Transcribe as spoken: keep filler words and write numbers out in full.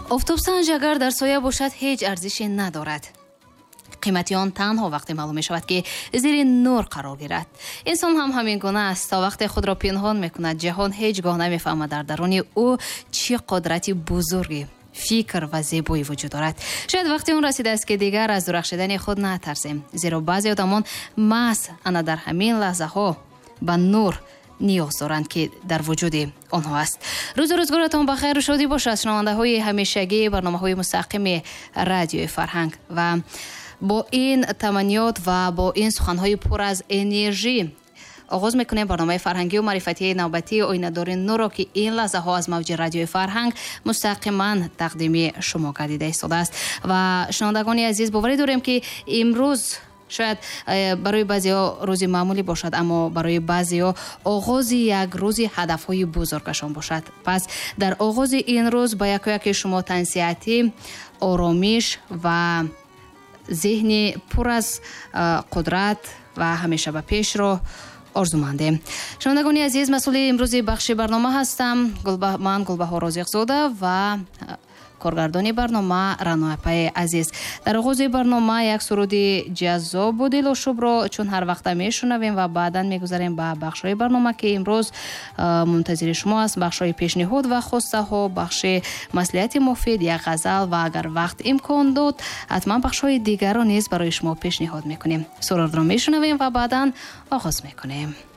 Офтобсанҷ агар дар соя бошад, ҳеҷ арзише надорад. Қимати он танҳо вақте маълум мешавад, ки зери нур қарор гирад. Инсон ҳам ҳамин гуна аст. То вақте худро пинҳон мекунад, ҷаҳон ҳеҷ гоҳ намефаҳмад дар даруни ӯ чӣ қудрати бузурги фикр ва зебоӣ вуҷуд дорад. Шояд вақти он расидааст, ки дигар аз дурахшидани худ натарсем, зеро баъзе одамон маҳз ана дар ҳамин лаҳзаҳо ба нур ниёз доранд, ки дар вуҷуди онҳо аст. Рӯзу рӯзгоратон ба хайру шодӣ бошад, шунавандаҳои ҳамешагии барномаҳои мустақими Радиои Фарҳанг. Ва бо ин таманниёт ва бо ин суханҳои пур аз энержӣ оғоз мекунем барномаи фарҳангию маърифатии навбатии Оинадори нурро, ки ин лаҳзаҳо аз мавҷи Радиои Фарҳанг мустақиман тақдими шумо гардида истодааст. Ва шунавандагони азиз, боварӣ дорем, ки имрӯз шояд э, барои баъзеҳо рӯзи маъмулӣ бошад, аммо барои баъзеҳо оғози як рӯзи ҳадафҳои бузургашон бошад. Пас дар оғози ин рӯз ба якояки шумо тансиҳатӣ, оромиш ва зеҳни пур аз э, қудрат ва ҳамеша ба пешро орзумандем. Шунавандагони азиз, масъули имрӯзи бахши барнома ҳастам ман, Гулбаҳор Розиқзода, ва э, коргардони барнома Раноапаи азиз. Дар оғози барнома як суруди ҷаззобу дилошубро чун ҳар вақта мешунавем ва баъдан мегузарем ба бахшҳои барнома, ки имрӯз э, мунтазири шумо аст: бахшҳои пешниҳод ва хостаҳо, бахши маслиҳати муфид, як ғазал ва агар вақт имкон дод, ҳатман бахшҳои дигарро низ барои шумо пешниҳод мекунем. Сурудро мешунавем ва баъдан оғоз мекунем.